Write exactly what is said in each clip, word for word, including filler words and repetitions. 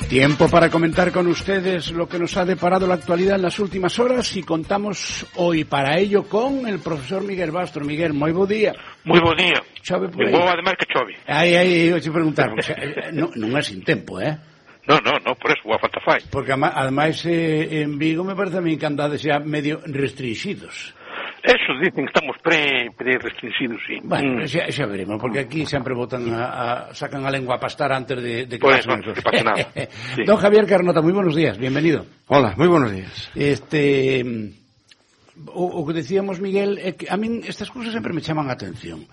Tiempo para comentar con ustedes lo que nos ha deparado la actualidad en las últimas horas y contamos hoy para ello con el profesor Miguel Bastro. Miguel, moi bo día. Moi bo día. Chove por aí. Bo ademais que chove. Aí, aí, eu te preguntar, porque, non, non é sin tempo, eh? No, no, no, por eso, boa falta fai. Porque ademais eh, en Vigo me parece a mí que andades xa medio restringidos. Eso dicen que estamos pre, pre restringidos, sí. Bueno, mm. xa, xa veremos, porque aquí sempre botan a, a, sacan a lengua a pastar antes de, de que pues pasen no, que pase nada. Sí. Don Javier Carnota, muy buenos días, bienvenido. Hola, muy buenos días. Este, o, o que decíamos, Miguel, é que a min estas cousas sempre me chaman a atención.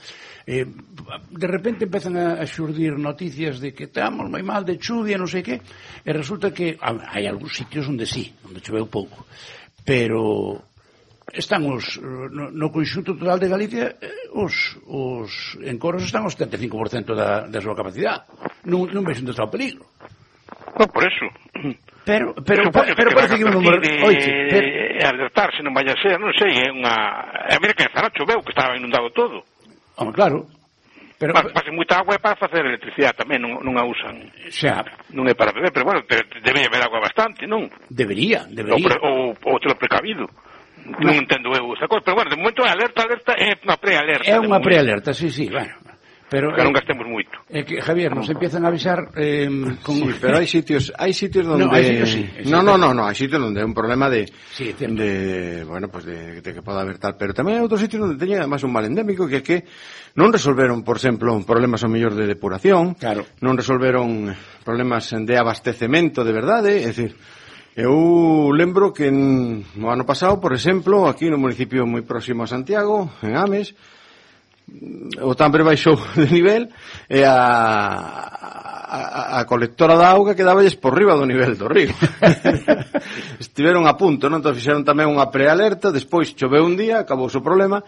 Eh, de repente empezan a, a xurdir noticias de que estamos moi mal de chuvia, non sei que, e resulta que hai algúns sitios onde sí, onde choveu pouco, pero están os, no, no conxunto total de Galicia, os, os encoros están ao setenta e cinco por cento da, da súa capacidade. Non, non vexo onde está o peligro. No, por eso. Pero, pero, pero, pero parece que un número... De, Oiche, pero... alertarse, non vaya a ser, non sei, é unha... A mira que en Zara choveu, que estaba inundado todo. Home, claro. Pero... Mas, mas moita agua é para facer electricidade tamén, non, non a usan. Xa. Non é para beber, pero bueno, debería haber agua bastante, non? Debería, debería. Ou, ou, ou te lo precavido. Non entendo eu esa cosa, pero bueno, de momento é alerta, alerta, é unha prealerta. É unha prealerta, sí, sí, bueno. Pero que non gastemos moito. É que, Javier, nos empiezan a avisar eh, con... Sí, pero hai sitios, hai sitios donde... No, hay sitios, sí, hay no, sitios. no, no, no, hai sitios donde é un problema de... Sí, de, bueno, pues de, de que poda haber tal, pero tamén hai outros sitios donde teñen además un mal endémico que é que non resolveron, por exemplo, problemas ao mellor de depuración, claro. Non resolveron problemas de abastecemento de verdade, é dicir... Eu lembro que no ano pasado, por exemplo, aquí no municipio moi próximo a Santiago, en Ames, o Tambre baixou de nivel e a, a, a colectora da auga quedaballes por riba do nivel do río. Estiveron a punto, non? Entón fixeron tamén unha prealerta, despois choveu un día, acabou o problema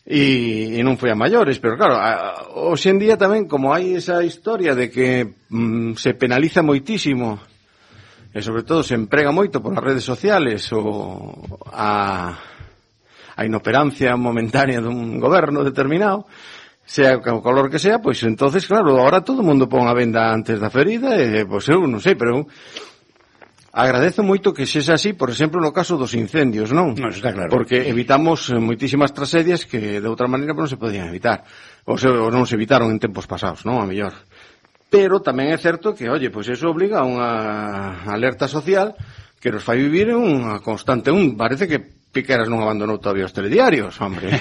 e, e non foi a maiores, pero claro, a, hoxe en día tamén, como hai esa historia de que mm, se penaliza moitísimo e sobre todo se emprega moito por as redes sociales ou a, a inoperancia momentánea dun goberno determinado, sea o color que sea, pois entonces, claro, agora todo o mundo pon a venda antes da ferida e, pois eu non sei, pero eu agradezo moito que sexa así, por exemplo, no caso dos incendios, non? Non, está claro. Porque evitamos moitísimas tragedias que de outra maneira non se podían evitar, ou, se, ou non se evitaron en tempos pasados, non? A mellor. Pero tamén é certo que, oye, pois eso obliga a unha alerta social que nos fai vivir en unha constante. Un, parece que Piqueras non abandonou todavía os telediarios, hombre.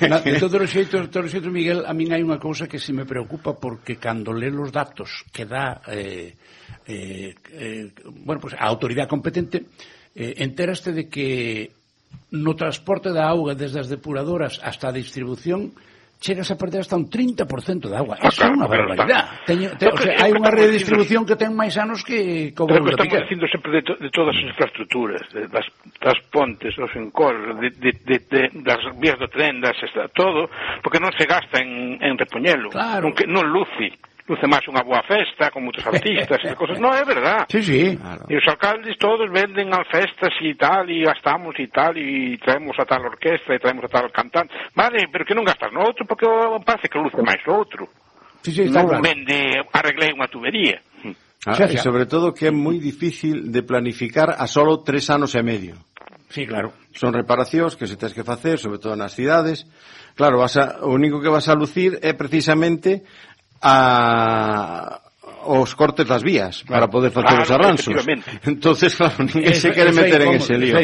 No, de todos os xeitos, todos os xeitos, Miguel, a min hai unha cousa que se me preocupa porque cando lê os datos que dá eh, eh, eh, bueno, pues a autoridade competente, eh, enteraste de que no transporte da auga desde as depuradoras hasta a distribución chegas a perder hasta un trinta por cento de agua. Eso é unha barbaridade. Teño, te, o sea, hai unha rede de distribución que ten máis anos que como pero que estamos dicindo sempre de, to, de todas as infraestructuras, de, das, das pontes, dos encoros, de, de, de, de, das vías do tren, das, todo, porque non se gasta en, en repoñelo. Claro. Non, que, non luce. Luce máis unha boa festa, con moitos artistas e cosas. Non, é verdad. Sí, sí. Claro. E os alcaldes todos venden as festas e tal, e gastamos e tal, e traemos a tal orquestra, e traemos a tal cantante. Vale, pero que non gastas no outro, porque parece que luce máis o outro. Sí, sí, está non claro. Vende, arreglei unha tubería. Ah, e sobre todo que é moi difícil de planificar a solo tres anos e medio. Sí, claro. Son reparacións que se tens que facer, sobre todo nas cidades. Claro, vas a, o único que vas a lucir é precisamente a os cortes das vías, claro, para poder facer claro, os arranxos. Entonces, claro, ninguén se quere meter en ese lío.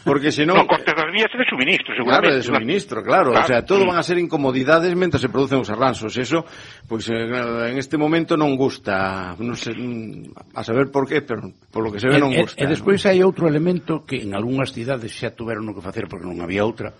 Porque senón... Non, cortes das vías é de suministro, seguramente. Claro, de suministro, claro. claro. O sea, todo van a ser incomodidades mentre se producen os arranxos. Eso, pois, pues, en este momento non gusta. Non sei, a saber por qué, pero por lo que se ve non gusta. E, e despois hai outro elemento que en algunhas cidades xa tuveron o que facer porque non había outra.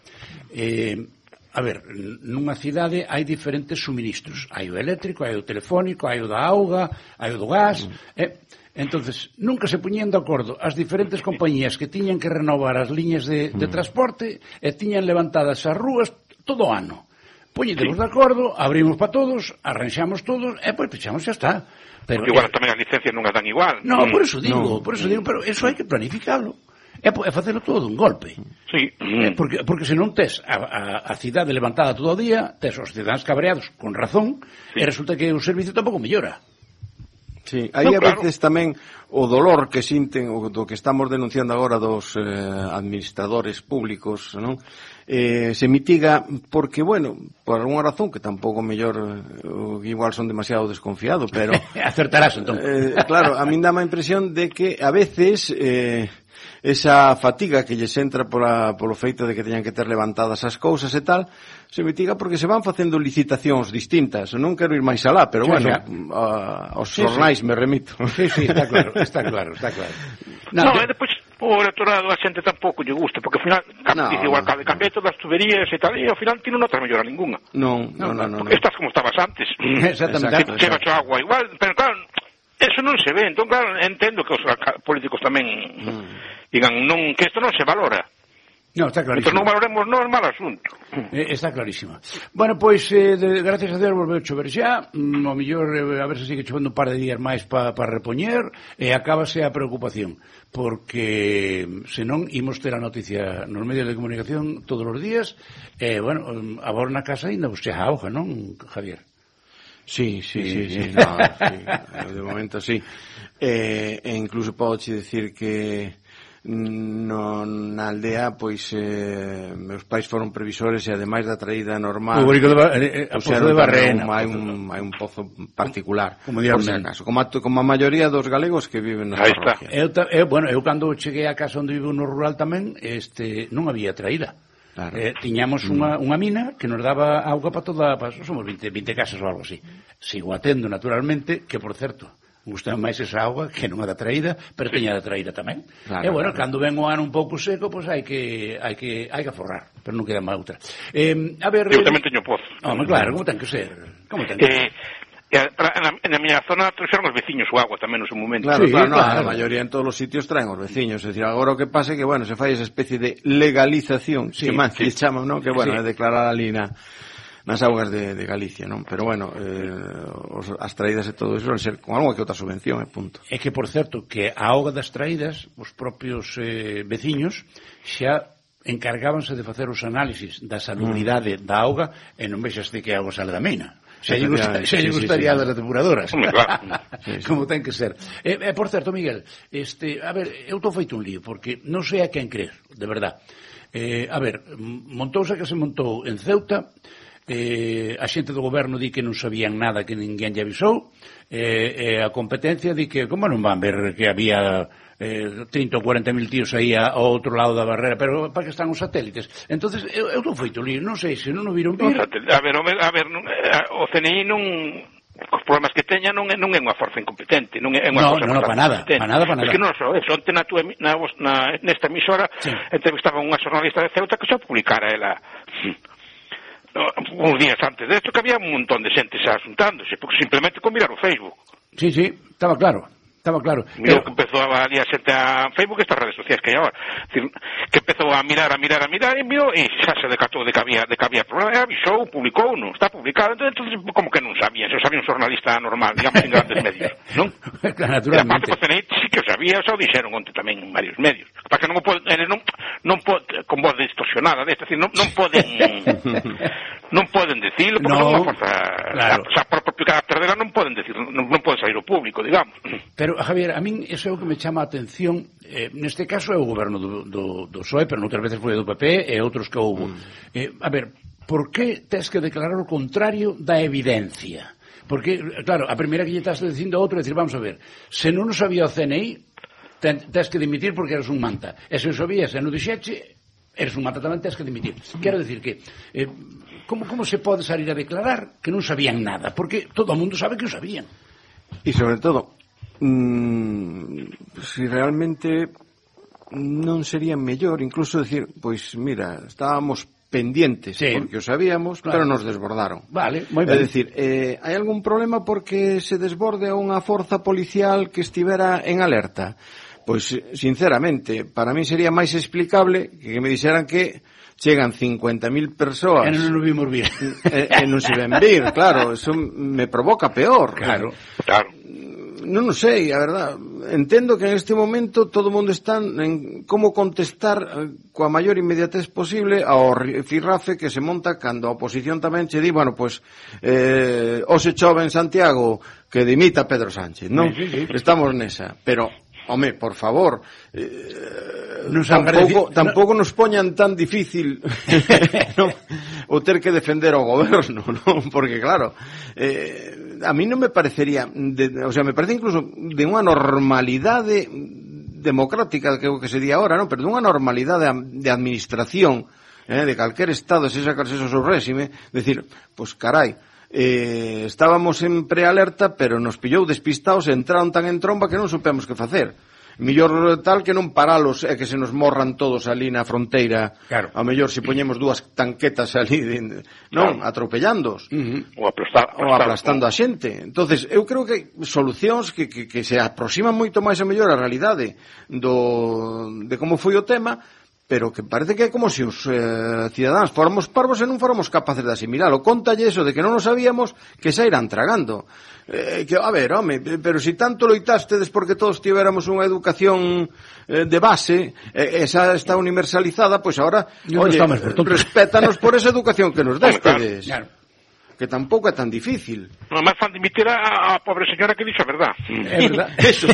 Eh... A ver, nunha cidade hai diferentes suministros. Hai o eléctrico, hai o telefónico, hai o da auga, hai o do gas. Eh? Entonces, nunca se puñían de acordo as diferentes compañías que tiñan que renovar as liñas de, de transporte e tiñan levantadas as rúas todo o ano. Puñétemos de acordo, abrimos para todos, arranxamos todos e pois pechamos, xa está. Pero igual tamén as licencias non as dan igual. No, por eso digo, por eso digo, pero eso hai que planificarlo. É, é facelo todo dun golpe. Sí. É porque, porque se non tes a, a, a cidade levantada todo o día, tes os cidadáns cabreados con razón, sí. E resulta que o servicio tampouco mellora. Sí, Sí, aí no, a claro. veces tamén o dolor que sinten, o do que estamos denunciando agora dos eh, administradores públicos, non? Eh, se mitiga porque, bueno, por alguna razón que tampouco mellor eh, igual son demasiado desconfiado, pero acertarás entón. Eh, claro, a min dá a impresión de que a veces eh, esa fatiga que lles entra pola, polo feito de que teñan que ter levantadas as cousas e tal, se mitiga porque se van facendo licitacións distintas. Non quero ir máis alá, pero sí, bueno, a, aos sí, xornais sí. me remito. Sí, sí, está claro, está claro, está claro. No, no, e depois o electorado a xente tampouco lle gusta, porque ao final no, dice o alcalde, cambié todas as tuberías e tal, e ao final ti non notas mellora ninguna. Non, non, non, non. Estás como estabas antes. Exactamente. Que chega a agua igual, pero claro, eso non se ve. Entón, claro, entendo que os políticos tamén mm. digan non, que isto non se valora. No, está clarísimo. Pero non valoremos, non é mal asunto. Eh, está clarísima. Bueno, pois, eh, de, gracias a Deus volveu a chover xa, mm, o mellor, eh, a ver se sigue chovendo un par de días máis para pa repoñer, e eh, acábase a preocupación, porque senón imos ter a noticia nos medios de comunicación todos os días, e, eh, bueno, agora na casa ainda vos xa auga, non, Javier? Sí, sí, sí, sí, sí, no, sí, de momento sí. Eh, e incluso podo che decir que no, na aldea, pois eh, meus pais foron previsores e ademais da traída normal o de ba eh, a pozo de Barrena, hai un, hai un pozo particular, como por si acaso, como a, como a maioría dos galegos que viven nas parroquias. Eu, eu, bueno, eu cando cheguei a casa onde vivo no rural tamén, este, non había traída. Claro. Eh, tiñamos unha, unha mina que nos daba auga para toda, para, somos vinte, vinte casas ou algo así. Sigo atendo, naturalmente, que por certo, gusta máis esa auga que non a da traída, pero teña da traída tamén. Claro, e bueno, claro. Cando ven o ano un pouco seco, pois pues hai que hai que hai que aforrar, pero non queda má outra. Eh, a ver, eu tamén teño pozo. Home, claro, como ten que ser? Como ten que ser? Eh, na, na miña zona trouxeron os veciños o agua tamén no seu momento. Claro, sí, claro, no, claro. A maioría en todos os sitios traen os veciños. É dicir, agora o que pasa é que, bueno, se fai esa especie de legalización, sí, que máis sí. que chaman, non? Que, bueno, sí. é declarar ali na nas augas de, de Galicia, non? Pero, bueno, eh, os, as traídas e todo eso van ser con algo que outra subvención, é punto. É que, por certo, que a auga das traídas, os propios eh, veciños xa encargábanse de facer os análisis da salubridade mm. da auga e non vexaste que a auga sale da mina. Se lle gusta, sí, gustaría sí, sí. das depuradoras. Hombre, claro. sí, sí. Como ten que ser. E, eh, por certo, Miguel, este, a ver, eu estou feito un lío, porque non sei a quen creer, de verdad. Eh, a ver, montouse que se montou en Ceuta, eh, a xente do goberno di que non sabían nada, que ninguén lle avisou, eh, eh, a competencia di que, como non van ver que había eh, trinta ou cuarenta mil tíos aí ao outro lado da barrera, pero para que están os satélites? Entonces eu, eu estou feito lío, non sei se non o viron vir. A ver, a ver, o C N I non, os problemas que teña non é, non é unha forza incompetente, non é unha no, cosa no, no, para nada, para nada, para nada. Es que non só eso, onte na, tua, na, na, nesta emisora sí. entrevistaba unha xornalista de Ceuta que xa publicara ela uns días antes de esto, que había un montón de xente xa asuntándose, porque simplemente con mirar o Facebook. Sí, sí, estaba claro. Estaba claro. Mirou que empezou a ali a xente a Facebook, estas redes sociais que hai agora. Decir, que empezou a mirar, a mirar, a mirar, e mirou, e xa se decatou de que había, de que había problema, e avisou, publicou, non, está publicado. Entonces, como que non sabían, se o sabía un xornalista normal, digamos, en grandes medios, non? Naturalmente. E aparte, pues, sí que o sabía, xa o dixeron onte tamén en varios medios. Para que non o poden, non, non poden, con voz distorsionada, es decir, non, non poden, non poden decirlo, porque no, non é unha forza, claro. Xa por propio carácter dela non poden decir, non, non poden sair ao público, digamos. Pero, Javier, a min iso é o que me chama a atención, eh, neste caso é o goberno do, do, do P S O E, pero noutras veces foi do P P e outros que houve. Mm. Eh, a ver, por que tes que declarar o contrario da evidencia? Porque, claro, a primeira que lle estás dicindo a outro é dicir, vamos a ver, se non o sabía o C N I, ten, tes que dimitir porque eres un manta. E se o sabías e non dixeche, eres un manta tamén, tes que dimitir. Quero dicir que, eh, como, como se pode salir a declarar que non sabían nada? Porque todo o mundo sabe que o sabían. E sobre todo, Mm, si realmente non sería mellor incluso decir, pois mira, estábamos pendientes sí. porque o sabíamos, claro. pero nos desbordaron. Vale, moi ben. É dicir, eh, hai algún problema porque se desborde a unha forza policial que estivera en alerta? Pois, sinceramente, para mí sería máis explicable que me dixeran que chegan cincuenta mil persoas e non nos vimos vir e, e non se ven vir, claro, eso me provoca peor. Claro, claro. non o sei, a verdad. Entendo que en este momento todo o mundo está en como contestar coa maior inmediatez posible ao firrafe que se monta cando a oposición tamén che di, bueno, pois, eh, hoxe chove en Santiago, que dimita Pedro Sánchez, non? Sí, sí, sí. Estamos nesa, pero... Home, por favor, eh, nos tampouco, tampouco nos poñan tan difícil no, o ter que defender o goberno, non? Porque claro, eh, a mí non me parecería, de, o sea, me parece incluso de unha normalidade democrática, que que se di ahora, non? Pero de unha normalidade de administración, eh, de calquer estado, se sacarse eso seu réxime, decir, pois carai, Eh, estábamos en prealerta, pero nos pillou despistados e entraron tan en tromba que non supemos que facer. Millor tal que non paralos e que se nos morran todos ali na fronteira. Claro. A mellor se poñemos dúas tanquetas ali, de, non, claro, atropellándoos. Uh-huh. Ou, aplastar, aplastar, ou aplastando a xente. Entonces, eu creo que solucións que, que, que se aproximan moito máis a mellor a realidade do, de como foi o tema, pero que parece que é como se os eh, cidadáns fóramos parvos e non fóramos capaces de asimilalo. Contalle eso de que non o sabíamos, que xa irán tragando. Eh, que, a ver, home, pero si tanto loitástedes porque todos tivéramos unha educación eh, de base, eh, esa está universalizada, pois ahora, oye, por respétanos por esa educación que nos destes. Claro. Que tampouco é tan difícil. Non máis fan dimitir a, a pobre señora que dixo a verdad. É verdad. Eso.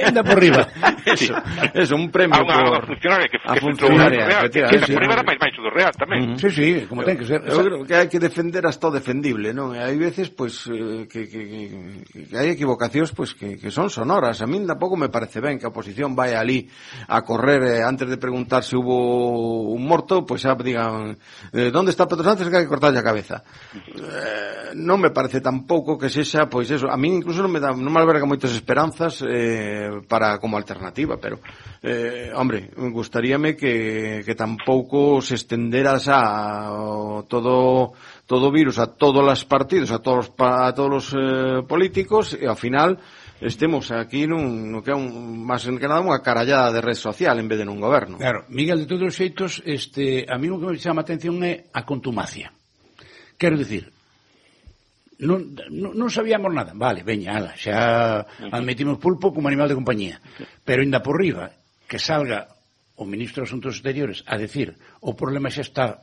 Enda por riba. Eso. Eso, un premio a unha, por... a funcionaria que, a que funcionaria. Que enda por riba era máis baixo do real tamén. Uh-huh. Sí, sí, como ten que ser. Eu creo que hai que defender hasta o defendible, non? E hai veces, pois, eh, que, que, que, que hai equivocacións, pois, que, que son sonoras. A min tampouco me parece ben que a oposición vai ali a correr, eh, antes de preguntar se hubo un morto, pois xa digan, eh, ¿dónde está Pedro Sánchez? Que hai que cortarlle a cabeza. Eh, non me parece tampouco que sexa, pois eso, a mí incluso non me dá, non me alberga moitas esperanzas eh, para como alternativa, pero eh, hombre, gustaríame que, que tampouco se estendera xa todo todo virus a todos os partidos, a todos a todos os eh, políticos, e ao final estemos aquí nun, no que é un, máis que nada unha carallada de red social en vez de nun goberno. Claro, Miguel, de todos os xeitos, este, a mí o que me chama a atención é a contumacia. Quero dicir, non, non, non sabíamos nada, vale, veña, ala, xa admitimos pulpo como animal de compañía, pero ainda por riba que salga o ministro de Asuntos Exteriores a decir o problema xa está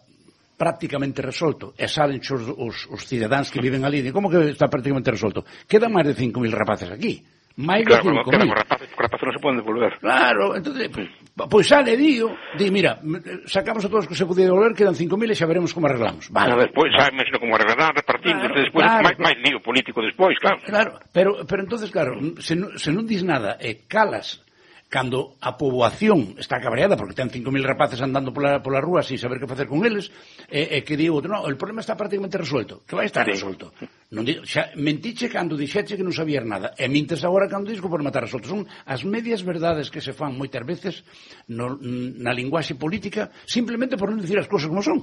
prácticamente resolto e salen os, os, os cidadáns que viven ali, como que está prácticamente resolto? Quedan máis de cinco mil rapaces aquí. máis de cinco mil. Claro, rapaces, os rapaces non se poden devolver. Claro, entonces, pois pues sale, digo, di, mira, sacamos a todos que se podía devolver, quedan cinco mil e xa veremos como arreglamos. Vale. Pero despois, xa imagino como arreglarán, repartindo, claro, despois, claro, máis, máis lío político despois, claro. Claro, pero, pero entonces, claro, se non, se non dis nada e calas cando a poboación está cabreada porque ten cinco mil rapaces andando pola, pola rúa sin saber que facer con eles, e, e que digo, no, el problema está prácticamente resuelto, que vai estar sí. resuelto. Non di, xa, mentiche cando dixeche que non sabías nada, e mintes agora cando dis que por matar resuelto. Son as medias verdades que se fan moitas veces no, na linguaxe política simplemente por non dicir as cousas como son.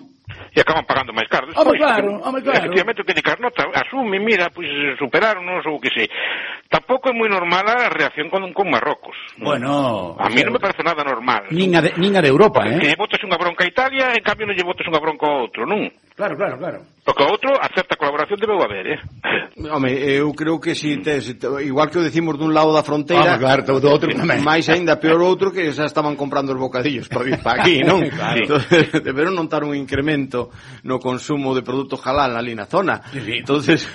E acaban pagando máis caro despois. Home, claro, home, claro. Efectivamente, que de Carnota asume, mira, pois pues, superaron-nos ou que sei. Tampouco é moi normal a reacción con, con Marrocos. Bueno, a mí non me parece nada normal. Nin a de, nin a de Europa, eh? Que lle botas unha bronca a Italia, en cambio non lle botas unha bronca a outro, non? Claro, claro, claro. Porque o outro, a certa colaboración debeu haber, eh? Home, eu creo que si te, si te, igual que o decimos dun lado da fronteira, ah, claro, do outro tamén. máis aínda peor outro que xa estaban comprando os bocadillos para vir para aquí, non? Claro. Entonces, deberon notar un incremento no consumo de produtos halal ali na zona. Sí, sí. Entonces,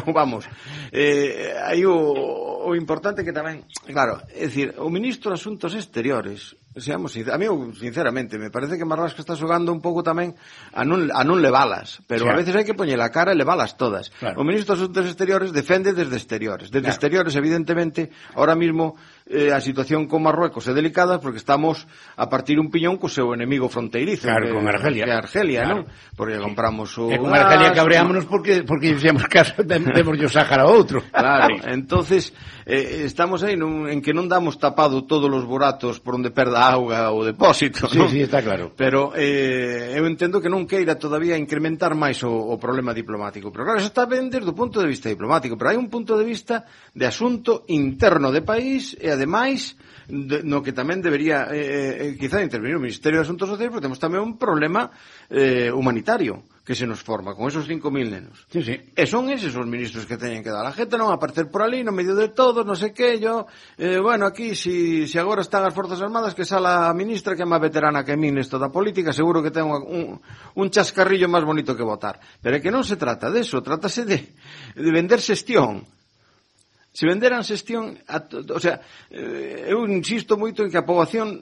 vamos, eh, aí o, o importante que tamén, claro, é dicir, o ministro de Asuntos Exteriores, seamos sinceros, a mí, sinceramente, me parece que Marlasca está xogando un pouco tamén a non, a non levalas, pero sí. a veces hai que poñer a cara e levalas todas. Claro. O ministro de Asuntos Exteriores defende desde exteriores. Desde claro. exteriores, evidentemente, ahora mismo eh, a situación con Marruecos é delicada porque estamos a partir un piñón co seu enemigo fronteirizo. Claro, que, con Argelia. Que Argelia, claro. non? Porque compramos o... E con Argelia cabreámonos porque, porque dixemos caso, temos o Sáhara a outro. Claro, entonces eh, estamos aí nun, en que non damos tapado todos os buratos por onde perda auga o depósito, sí, non? Sí, está claro. Pero eh, eu entendo que non queira todavía incrementar máis o, o problema diplomático. Pero claro, eso está ben desde o punto de vista diplomático, pero hai un punto de vista de asunto interno de país e ademais de, no que tamén debería eh, eh, quizá intervenir o Ministerio de Asuntos Sociais, porque temos tamén un problema eh, humanitario que se nos forma, con esos cinco mil nenos. Sí, sí. E son eses os ministros que teñen que dar. A gente non aparecer por ali, no medio de todos, non sei que, yo, eh, bueno, aquí, si, si agora están as Forzas Armadas, que sala a ministra, que é máis veterana que a min nesto da política, seguro que ten un, un chascarrillo máis bonito que votar. Pero é que non se trata de eso, trátase de, de vender xestión. Se venderan xestión, a, o sea, eh, eu insisto moito en que a poboación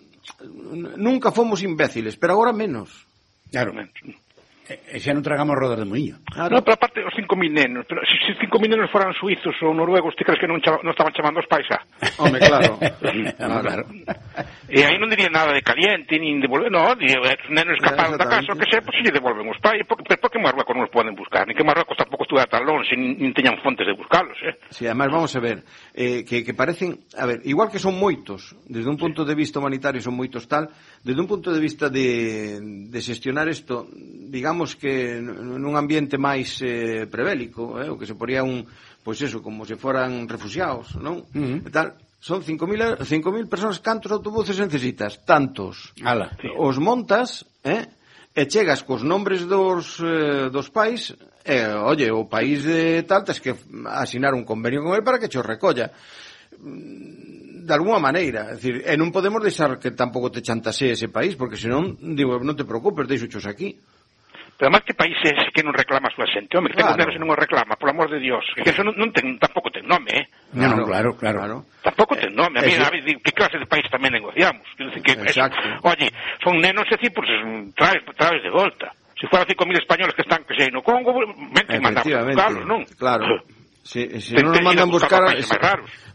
nunca fomos imbéciles, pero agora menos. Claro. E xa non tragamos rodas de moinho. Claro. No, pero aparte, os cinco mil nenos, pero se si cinco mil nenos foran suizos ou noruegos, ti crees que non, chama, non estaban chamando os pais xa? Home, claro. claro. claro. E aí non diría nada de caliente, nin devolver, non, diría, os nenos escaparon da casa, o que sei, pois se lle devolven os pais, pero por que Marruecos non os poden buscar? Ni que Marruecos tampouco estuviera tan longe, nin, nin teñan fontes de buscarlos, eh? Sí, además, vamos a ver, eh, que, que parecen, a ver, igual que son moitos, desde un punto de vista humanitario son moitos tal, desde un punto de vista de, de xestionar isto, digamos que nun ambiente máis eh, prebélico, eh, o que se poría un, pois eso, como se foran refugiados, non? Uh-huh. E tal, son cinco mil personas, cantos autobuses necesitas? Tantos. Ala. Os montas, eh, e chegas cos nombres dos, eh, dos pais, e, oye, o país de tal, tens que asinar un convenio con ele para que cho recolla. De alguna maneira, é dicir, e non podemos deixar que tampouco te chantase ese país, porque senón, digo, non te preocupes, deixochos aquí. Pero además, que país é ese que non reclama a súa xente? Home, que claro. Ten nenos e non o reclama, por amor de Dios. Que eso non, non ten, tampouco ten nome, eh? No, no, claro, claro. claro. Tampouco ten nome. A mí, a ver, que clase de país tamén negociamos? Que, Exacto. Eso, oye, son nenos e pues, traes, traes de volta. Se fueran cinco mil españoles que están, que sei, no Congo, ven que mandamos buscarlos, non? Claro. Si, si non nos mandan buscar,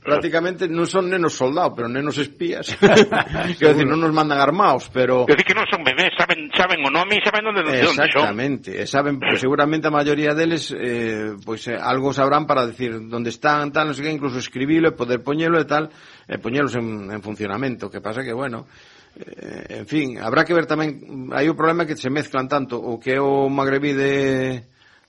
prácticamente non son nenos soldados, pero nenos espías. Quero decir, non nos mandan armados, pero... Quero decir que non son bebés, saben, saben o nome e saben onde, onde son. Exactamente, e saben, pues, seguramente a maioría deles, eh, pues, eh, algo sabrán para decir onde están, tal, non sei que, incluso escribilo e poder poñelo e tal, e poñelos en, en funcionamento. Que pasa que, bueno... Eh, en fin, habrá que ver tamén, hai o problema que se mezclan tanto o que é o magrebí de...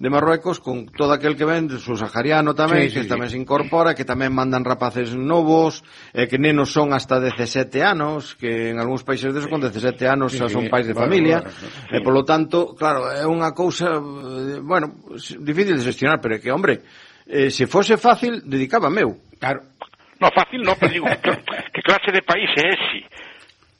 de Marruecos, con todo aquel que ven, subsahariano tamén, sí, sí, que sí. tamén se incorpora, que tamén mandan rapaces novos, eh, que nenos son hasta dezasete anos, que en algúns países desos con dezasete anos xa sí, son pais de bueno, familia, bueno, sí. e polo tanto, claro, é unha cousa, bueno, difícil de gestionar, pero é que, hombre, eh, se fose fácil, dedicábame eu. Claro. No, fácil no, pero digo, que clase de país é ese?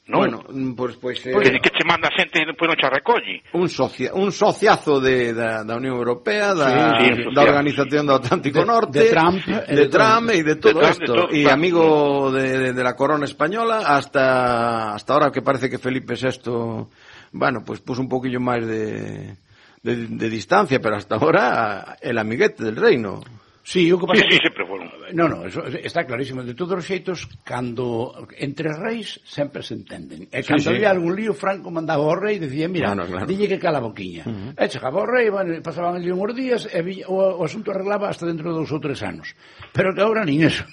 No. Bueno, pois pues, pues, eh, porque que che manda xente e depois non che recolli. Un socia, un sociazo de da, da Unión Europea, da, sí, sí, da Organización do Atlántico de, Norte, de Trump, de, de Trump e de todo isto, e amigo de, de, de la corona española hasta hasta ahora que parece que Felipe sexto, bueno, pues puso un poquillo máis de, de de distancia, pero hasta ahora el amiguete del reino. Sí, o que pasa... Sí, sí, sempre foron. No, no, eso está clarísimo. De todos os xeitos, cando entre reis sempre se entenden. E cando sí, había sí. algún lío, Franco mandaba ao rei e dicía, mira, claro, claro. dille que cala a boquiña. Uh -huh. E chegaba ao rei, bueno, pasaban ali unhos días, e o, o asunto arreglaba hasta dentro de dos ou tres anos. Pero que agora nin eso.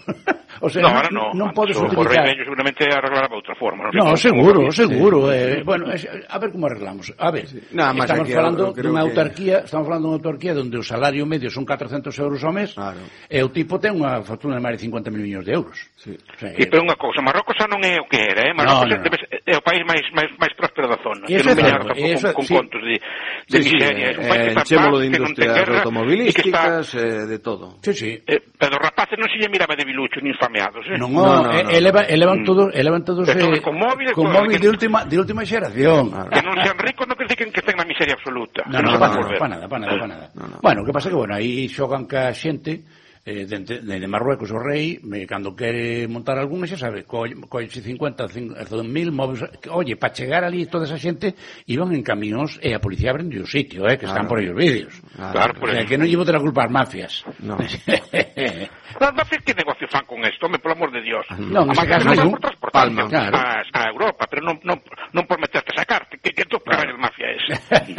O sea, no, ahora no. Non podes utilizar... O rei vello seguramente arreglará de outra forma. No, no seguro, seguro. Sí. Eh, bueno, a ver como arreglamos. A ver, sí. Nada, estamos falando dunha autarquía, que... estamos falando dunha autarquía onde o salario medio son catrocentos euros ao mes. Claro. E o tipo ten unha fortuna de máis de cincuenta mil millóns de euros. Sí, o sea, sí, pero unha cousa, Marrocos xa non é o que era, eh? Marrocos no, no. Debe, é o país máis máis máis próspero da zona, que non veña tampouco con, con sí. contos de, de sí, miseria. Sí, é un país eh, que de industrias automobilísticas, está... eh, de todo. Sí, sí. Eh, pero os rapaces non se lle miraba de biluchos ni infameados, eh? Non, no, no, no, no. Eleva, elevan todos, elevan todos eh, con móvil, con móvil de última de última xeración. Que non sean ricos non quer dicir que estén na miseria absoluta. No, no, para nada, para nada, para nada. Bueno, o que pasa que bueno, aí xogan ca xente eh, de, de, de Marruecos o rei, me, cando quere montar algún, xa sabe, colle cincuenta, cen mil móviles, oye, para chegar ali toda esa xente iban en camións e a policía aprende o sitio, eh, que claro. están por aí os vídeos. Claro, o sea, que non llevo de la culpa as mafias. No. Las mafias que negocio fan con esto, me por amor de Dios. No, en ese caso non por transportarme claro. a, a Europa, pero non, non, non por meterte a sacarte, que, que tú claro. pagas mafia es.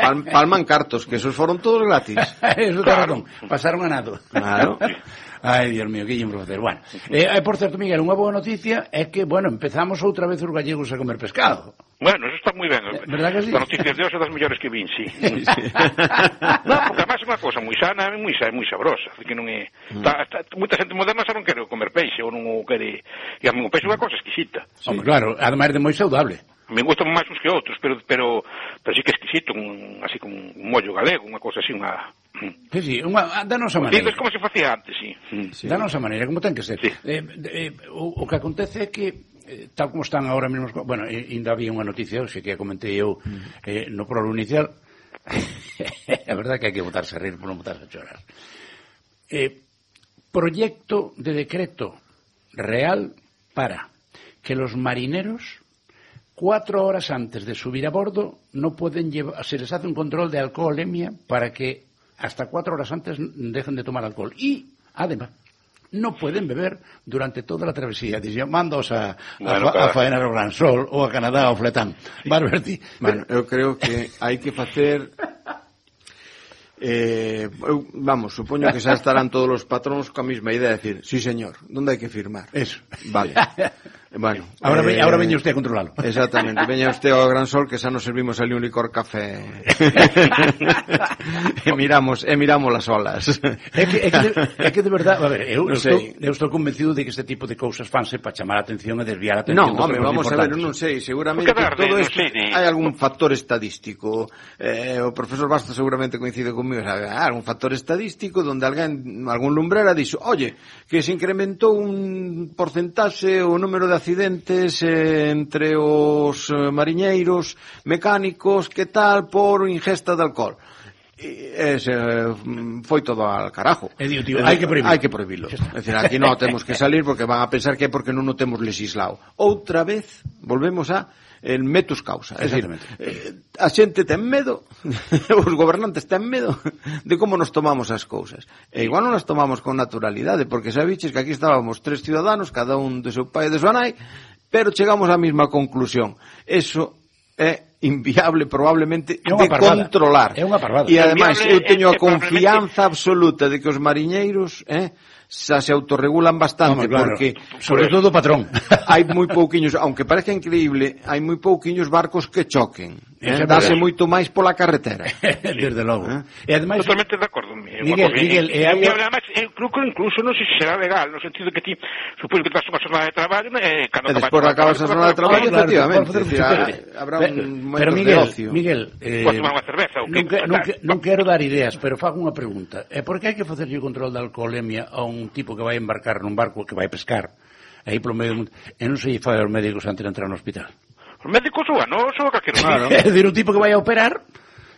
Pal, palman cartos, que esos foron todos gratis. Eso claro. Pasaron a nado. Claro. Ai, Dios mío, que lle imos facer. Bueno, eh, por certo, Miguel, unha boa noticia é que, bueno, empezamos outra vez os gallegos a comer pescado. Bueno, eso está moi ben. ¿Verdad que sí? As noticias de hoxe das mellores que vin, sí. sí. No, porque además é unha cosa moi sana e moi, moi sabrosa. Que non é... Mm. Está, está, moita xente moderna xa non quere comer peixe ou non o quere... E a mí o peixe é unha cosa exquisita. Sí. Hombre, claro, ademais de moi saudable. me gustan máis uns que outros, pero pero pero sí que é exquisito, un, así como un mollo galego, unha cousa así, unha... Sí, sí, unha, da nosa maneira. Dices como se facía antes, sí. sí. Da nosa maneira, como ten que ser. Sí. Eh, eh, o, o que acontece é que, eh, tal como están agora mesmo, bueno, ainda había unha noticia hoxe que comentei eu eh, no prolo inicial, a verdade que hai que botarse a rir por non botarse a chorar. Eh, proyecto de decreto real para que los marineros cuatro horas antes de subir a bordo no pueden llevar, se les hace un control de alcoholemia para que hasta cuatro horas antes dejen de tomar alcohol y además no pueden beber durante toda la travesía. Dicen, mandos a, bueno, a, a faenar ao Gran Sol ou a Canadá ou Fletán. Barberti. Bueno, eu creo que hai que facer Eh, eu, vamos, supoño que xa estarán todos os patróns coa mesma idea de decir, sí señor, onde hai que firmar? Eso. Vale. Bueno, ahora, eh, ve, ahora veña usted a controlalo. Exactamente, veña usted ao Gran Sol que xa nos servimos ali un licor café. e miramos, e miramos las olas. É que, é que, de, é que de verdade, a ver, eu, no eu, estou, eu estou convencido de que este tipo de cousas fanse para chamar a atención e desviar a atención. No, home, vamos a ver, non sei, seguramente todo isto hai algún factor estadístico. Eh, o profesor Bastos seguramente coincide comigo, sabe, hai algún factor estadístico donde alguén, algún lumbrera dixo, oye, que se incrementou un porcentaxe o número de accidentes eh, entre os eh, mariñeiros mecánicos, que tal, por ingesta de alcohol. E se foi todo al carajo. E digo, tío, hai que prohibirlo. Hai que prohibirlo. É dicir, aquí non temos que salir porque van a pensar que é porque non o temos legislado. Outra vez, volvemos a el metus causa. É dicir, eh, a xente ten medo, os gobernantes ten medo de como nos tomamos as cousas. E igual non nas tomamos con naturalidade, porque sabiches que aquí estábamos tres ciudadanos, cada un de seu pai e de súa nai, pero chegamos á mesma conclusión. Eso é inviable probablemente de parvada. Controlar. É unha parvada. E ademais eu teño a é, é confianza absoluta de que os mariñeiros, eh, xa se autorregulan bastante, no, claro, porque sobre todo o patrón. Hai moi pouquiños, aunque parece increíble, hai moi pouquiños barcos que choquen. Eh, dáse moito máis pola carretera. Desde logo. Eh? E ademais, totalmente de acordo. Miguel, Miguel, e hai ademais, eu creo que incluso non sei se será legal, no sentido que ti supoño que te vas unha jornada de traballo, eh, cando e despois acabas a jornada de traballo, efectivamente. Habrá un pero Miguel, Miguel, eh, podes tomar unha cerveza, non, que, non, que, non quero dar ideas, pero fago unha pregunta. É por que hai que facerlle o control da alcoholemia a un tipo que vai embarcar nun barco que vai pescar aí polo medio do mundo, e non se lle fai aos médicos antes de entrar no hospital? Os médicos ou non, só calquero. Claro. É dicir, un tipo que vai a operar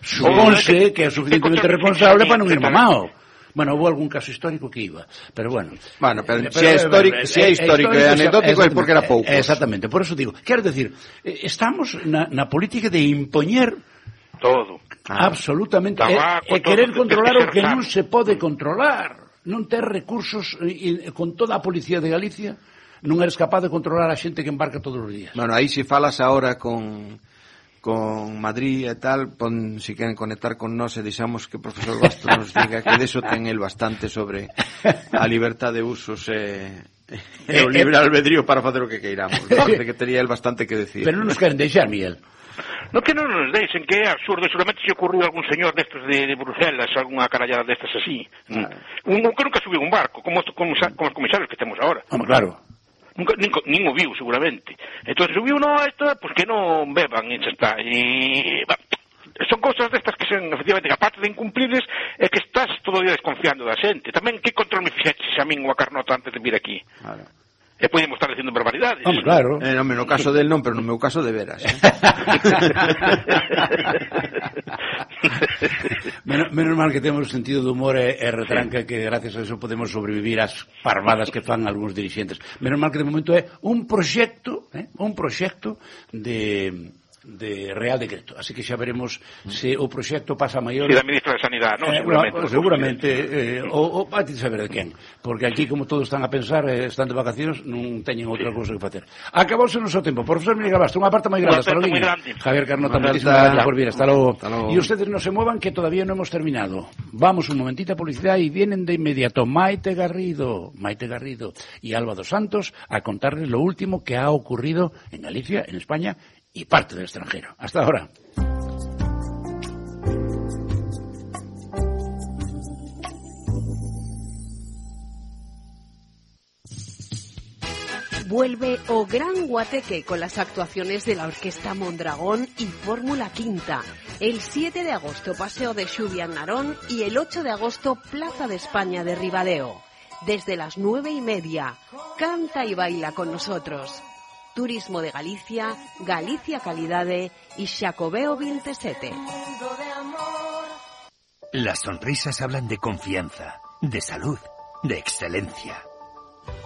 supónse que é suficientemente responsable para non ir mamao. Bueno, houve algún caso histórico que iba, pero bueno. Bueno, pero, pero se é histórico, se é histórico e anecdótico é porque era pouco. Exactamente, por eso digo, quero decir, estamos na, na política de impoñer todo. Absolutamente, e, e querer controlar o que non se pode controlar. Non ter recursos e, e, con toda a policía de Galicia, non eres capaz de controlar a xente que embarca todos os días. Bueno, aí se falas ahora con con Madrid e tal, pon, si queren conectar con nós e deixamos que o profesor Bastos nos diga que deso ten el bastante sobre a libertad de usos e, e o libre albedrío para facer o que queiramos. Parece que tería el bastante que decir. Pero non nos queren deixar, Miguel. No que non nos deixen, que é absurdo, seguramente se ocurriu algún señor destes de, de Bruselas, algunha carallada destas así. Ah. Un, un que nunca subiu un barco, como, como, como os comisarios que temos agora. Home, claro. Nunca, nin, nin o viu, seguramente. Entón, subiu, no, isto, pues que non beban, e xa está. E, bah, son cousas destas que son, efectivamente, que aparte de incumplibles, é que estás todo o día desconfiando da xente. Tamén, que control me fixeches a min ou a Carnota antes de vir aquí? Claro. E podemos estar dicindo barbaridades. Home, claro. Eh, no, no caso del non, pero no meu caso de veras. Eh? menos, menos mal que temos sentido de humor e, e retranca, que gracias a eso podemos sobrevivir ás parvadas que fan algúns dirixentes. Menos mal que de momento é un proxecto, eh, un proxecto de de Real Decreto, así que xa veremos se o proxecto pasa a maior. Si da ministra de Sanidade, non? Eh, seguramente. No, seguramente, eh, o, o vai te saber de quen, porque aquí como todos están a pensar, eh, están de vacacións, non teñen outra sí. cousa que facer. Acabouse o noso tempo. Profesor Miguel Bastos, unha parte moi grande, hasta logo. Javier Carnota, moitísimas gracias por vir, hasta logo. E ustedes non se muevan que todavía non hemos terminado. Vamos un momentito a publicidade e vienen de inmediato Maite Garrido, Maite Garrido e Alba dos Santos a contarles lo último que ha ocurrido en Galicia, en España y parte del extranjero. Hasta ahora. Vuelve O Gran Guateque con las actuaciones de la Orquesta Mondragón y Fórmula Quinta. El siete de agosto Paseo de Xubia en Narón y el ocho de agosto Plaza de España de Ribadeo. Desde las nueve y media, canta y baila con nosotros. Turismo de Galicia, Galicia Calidade y Xacobeo veintisiete. Las sonrisas hablan de confianza, de salud, de excelencia.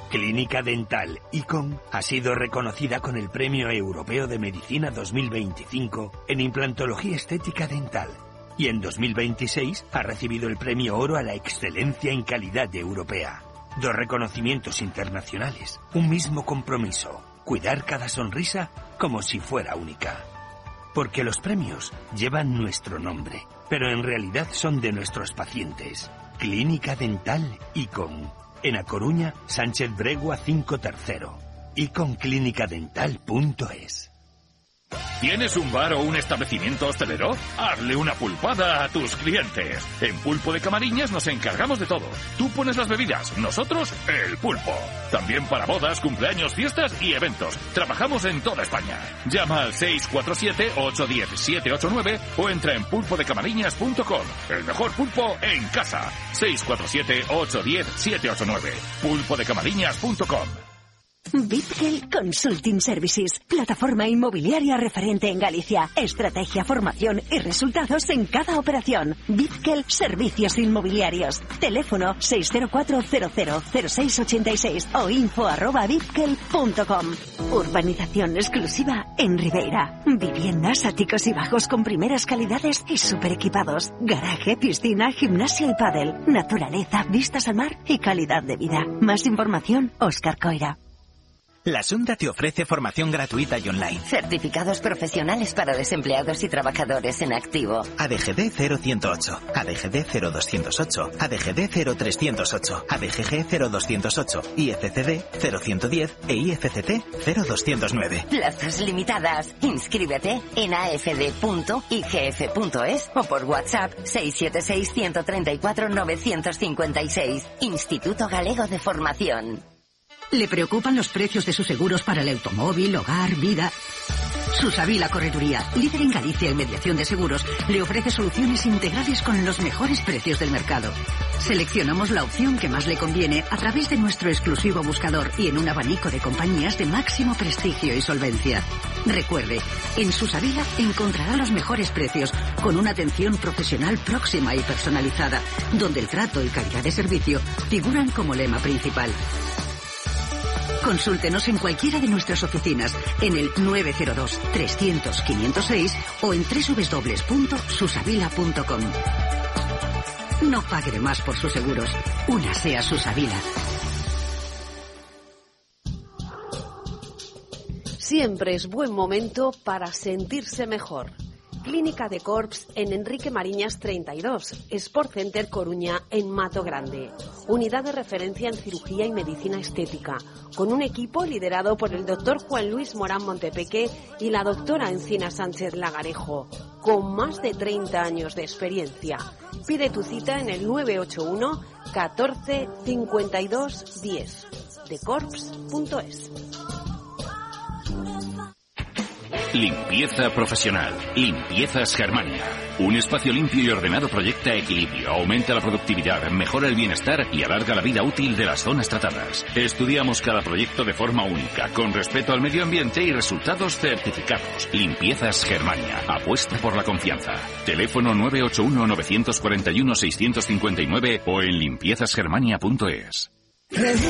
Clínica Dental Icon ha sido reconocida con el Premio Europeo de Medicina dos mil veinticinco en implantología estética dental y en dos mil veintiséis ha recibido el Premio Oro a la excelencia en calidad europea. Dos reconocimientos internacionales, un mismo compromiso: cuidar cada sonrisa como si fuera única. Porque los premios llevan nuestro nombre, pero en realidad son de nuestros pacientes. Clínica Dental Icon. En A Coruña, Sánchez Bregua cinco tercero. icon clínica dental punto es. ¿Tienes un bar o un establecimiento hostelero? Hazle una pulpada a tus clientes. En Pulpo de Camariñas nos encargamos de todo. Tú pones las bebidas, nosotros el pulpo. También para bodas, cumpleaños, fiestas y eventos. Trabajamos en toda España. Llama al seis cuatro siete, ocho uno cero, siete ocho nueve o entra en pulpo de camariñas punto com. El mejor pulpo en casa. seis cuatro siete, ocho uno cero, siete ocho nueve. pulpo de camariñas punto com. Bitgel Consulting Services, plataforma inmobiliaria referente en Galicia. Estrategia, formación y resultados en cada operación. Bitgel Servicios Inmobiliarios. Teléfono seis cero cuatro cero cero cero seis ocho seis o info arroba bitgel punto com. Urbanización exclusiva en Ribeira. Viviendas, áticos y bajos con primeras calidades y super equipados. Garaje, piscina, gimnasio y pádel. Naturaleza, vistas al mar y calidad de vida. Más información, Óscar Coira. La Sunda te ofrece formación gratuita y online. Certificados profesionales para desempleados y trabajadores en activo. A D G D cero ciento ocho, A D G D cero doscientos ocho, A D G D cero trescientos ocho, A D G G cero doscientos ocho, I F C D cero ciento diez e I F C T cero doscientos nueve. Plazas limitadas. Inscríbete en a f d punto i g f punto es o por WhatsApp seis siete seis, uno tres cuatro, nueve cinco seis. Instituto Galego de Formación. ¿Le preocupan los precios de sus seguros para el automóvil, hogar, vida? Susavila Correduría, líder en Galicia en mediación de seguros, le ofrece soluciones integrales con los mejores precios del mercado. Seleccionamos la opción que más le conviene a través de nuestro exclusivo buscador y en un abanico de compañías de máximo prestigio y solvencia. Recuerde, en Susavila encontrará los mejores precios con una atención profesional próxima y personalizada, donde el trato y calidad de servicio figuran como lema principal. Consúltenos en cualquiera de nuestras oficinas en el nueve cero dos, trescientos, quinientos seis o en doble u doble u doble u punto susavila punto com. No pague de más por sus seguros. Únase a Susavila. Siempre es buen momento para sentirse mejor. Clínica de Corps en Enrique Mariñas treinta y dos, Sport Center Coruña en Mato Grande. Unidad de referencia en cirugía y medicina estética, con un equipo liderado por el doctor Juan Luis Morán Montepeque y la doctora Encina Sánchez Lagarejo, con más de treinta años de experiencia. Pide tu cita en el nueve ocho uno, catorce, cincuenta y dos, diez, de corps punto es. Limpieza profesional. Limpiezas Germania. Un espacio limpio y ordenado proyecta equilibrio, aumenta la productividad, mejora el bienestar y alarga la vida útil de las zonas tratadas. Estudiamos cada proyecto de forma única, con respeto al medio ambiente y resultados certificados. Limpiezas Germania. Apuesta por la confianza. Teléfono nueve ocho uno, nueve cuatro uno, seis cinco nueve o en limpiezas germania punto es.